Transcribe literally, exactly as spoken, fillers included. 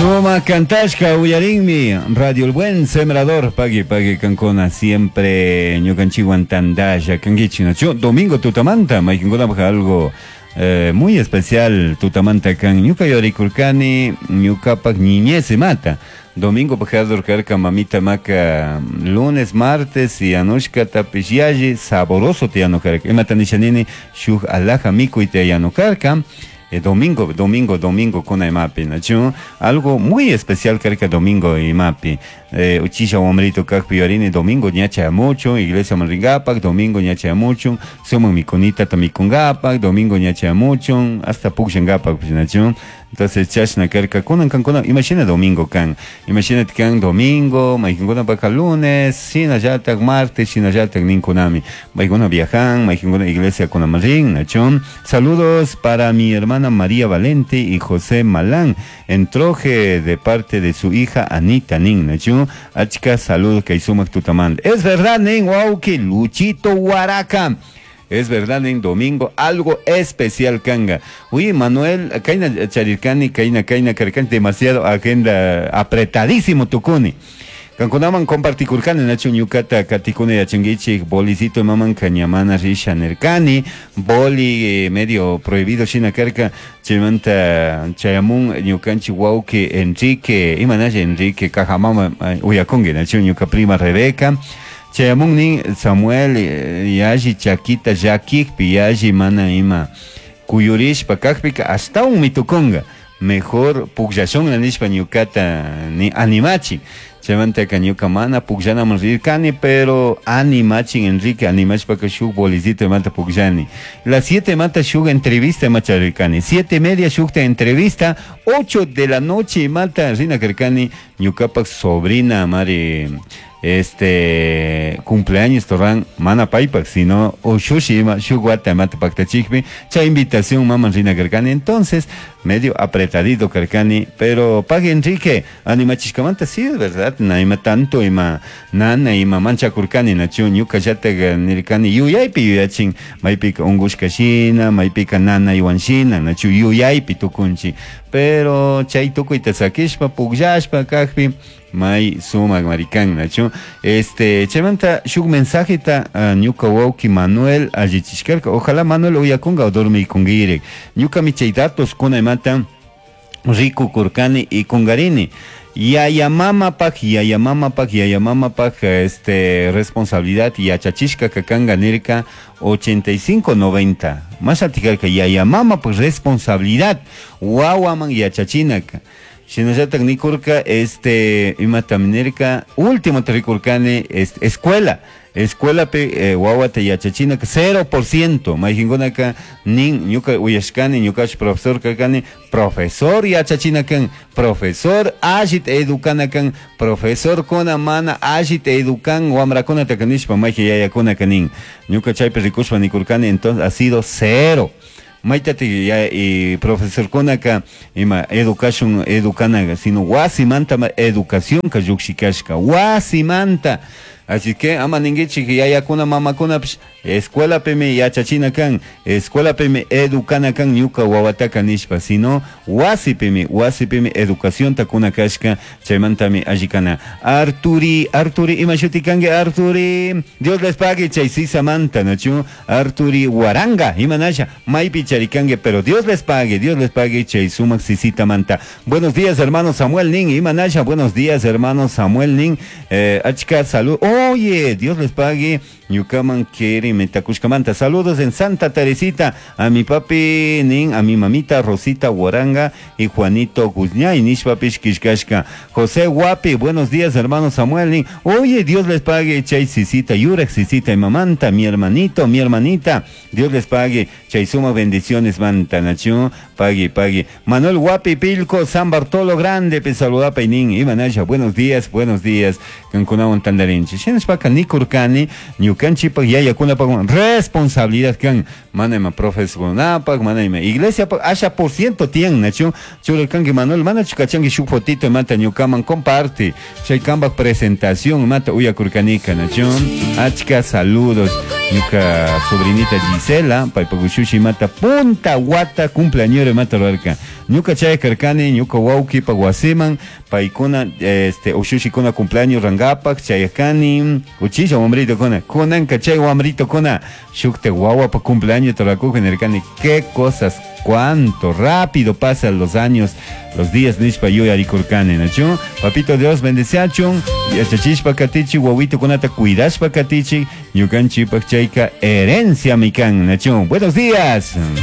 Suma kantashka uyarinmi Radio El Buen Sembrador pagui pagui kankuna siempre ñukanchikwan tandalla kankichik, nachu? Domingo tutamanta maykankunapaq algo eh, muy especial tutamanta kan ñuka yuyarikurkani ñukapak niñez imata domingo pajador karka mamita maka lunes, martes y yanushkatapish yalli saboroso tiyanukarka. Imata nisha nini? Shuk alaja mikuyta yanukarka eh, domingo, domingo, domingo kuna imapi, nachu? Algo muy especial karka domingo imapi. Eh, uchilla wamrito kakpi yuyarini domingo ña chayamuchun, iglesia ringapak, domingo ña chayamuchun, sumak mikunita mikungapak, domingo ña chayamuchun, hasta pukllangapak, nachu? Entonces chashna karka kunan kankuna imashina domingo kan, imashina kan domingo, maykankunapaka lunes, shinallatak martes, shinallatak ninkunami, maykuna viajan, maykuna iglesia kunaman rin, nachu? Saludos para mi hermana María Valente y José Malán en Troje de parte de su hija Anita nin, nachu? Achka saludos kay sumak tutamanta. Es verdad nin, wauki Luchito Huaraca. Es verdad, en domingo algo especial kanga. Uy, Manuel, kaina charirkani, kaina kaina karkani, demasiado agenda apretadísimo tukuni. Kankunaman compartikurkani, nachu? Ñukata katikuna yachankichik bolicito maman kañamana risha nirkani, boli eh, medio prohibido shina karka, chaymanta chayamun ñukanchik wawki Enrique, imanalla Enrique Cajamama uyakunki, nachu? Ñuka prima Rebeca chayamun nin Samuel eh, yalli chakita llakikpi yalli mana ima kuyurishpa kakpika ashtawan tukunga, mejor pukllashun nishpa ñukata ni animachin. Chaymantaka ñuka mana pukllanaman rirkani, pero animachin Enrique, animashpaka shuk bolicito imata pukllani. Las siete imata shuk entrevista imata charirkani, siete y media shukta entrevista, ocho de la noche imata rina karkani ñukapak sobrina mari este cumpleaños torran mana paypak sino ushushi ima shuk wata imata paktachikpi chay invitación maman rina karkani. Entonces medio apretadito karkani, pero pagui Enrique animachishkamanta. Sí, es verdad, na ima tanto ima nana ima manchakurkani, nachu? Ñuka llatak nirkani yuyaypi yuyachin maypika ungushka shina, maypika nanaywan shina, nachu? Yuyaypi tukunchik, pero chay tukuyta sakishpa pukllashpa kakpi may sumak marikan, nachu? Este chaymanta shuk mensajeta uh, ñuka wawki Manuel allichishkarka. Ojalá Manuel uyakunga o dormiykunkirik. Ñukami chay datos kuna imata rikukurkani y kungarini yaya mamapak yaya mamapak yaya mamapak este responsabilidad yachachishka kakanga nirka ochenta y cinco noventa más altikarka yaya mamapak responsabilidad wawaman yachachinaka. Shinallatak nikurka este imatami nirka último rikurkani este, escuela escuelapi eh, wawata yachachinaka cero por ciento. Maykankunaka nin ñuka uyashkani, ñukash profesor karkani, profesor yachachina kan, profesor allita educana kan, profesorkuna mana allita educan wamrakunataka nishpa maykan yayakunaka nin. Ñuka chaypi rikushpa nikurkani entonces ha sido cero. Maytati ya y profesorkunaka ima educación educana, sino wasimanta educación ka llukshikashka wasimanta. Así que ama ninkichik yayakuna mamakunapish escuelapimi yachachina kan, escuelapimi educana kan ñuka wawataka nishpa, sino wasipimi wasipimi educacionta kuna kashka, chaymantami alli kana. Arturi, Arturi, ima shuti kanki Arturi? Dios les pague chay sisamanta, nachu? Arturi Waranga, imanasha maypi charikanki, pero Dios les pague, Dios les pague chay sumak sisitamanta. Buenos días, hermano Samuel nin, imanasha, buenos días, hermano Samuel nin, eh, achka salud. Oye, Dios les pague ñukaman keri metakushkamanta. Saludos en Santa Teresita a mi papi nin, a mi mamita Rosita Huaranga y Juanito Guzñay nishpapish kishkashka. José Guapi, buenos días, hermano Samuel nin. Oye, Dios les pague chay sisita, yurak sisita y mamanta, mi hermanito, mi hermanita. Dios les pague chay suma bendiciones manta, nachu? Pagui, pagui. Manuel Guapi Pilco, San Bartolo Grande, pe saludapa nin. Imanasha, buenos días, buenos días. Kankunawan tandarinchi. Shinashpaka nikurkani, ñukanchikpak yayakunapak responsabilidad kan mana ima profesorkunapak, mana ima iglesia pak asha por ciento tiyan, nachu? Churarkanki Manuel, manachu kachanki shuk fotito imata ñukaman comparte chay kampak presentación imata uyakurkanika, nachu? Achka saludos. Ñuka sobrinita Gisela, paypak ushushi imata punta wata cumpleaños imata rurarka. Ñuka chay karkani, ñuka wawkipak wasiman, paykuna este ushushikuna cumpleaños rangapak chayakani, uchilla wambritukuna, kunanka chay wambritukuna, shukta wawapa cumpleaños rurakuji nirkani, qué cosas, cuánto rápido pasan los años, los días nishpa yuyarikurkani, nachu? Papito Dios bendeciachun, yachachishpa katichi, wawitukunata cuidashpa katichi, ñukanchikpak chayka herencia mi kan, nachu? Buenos días.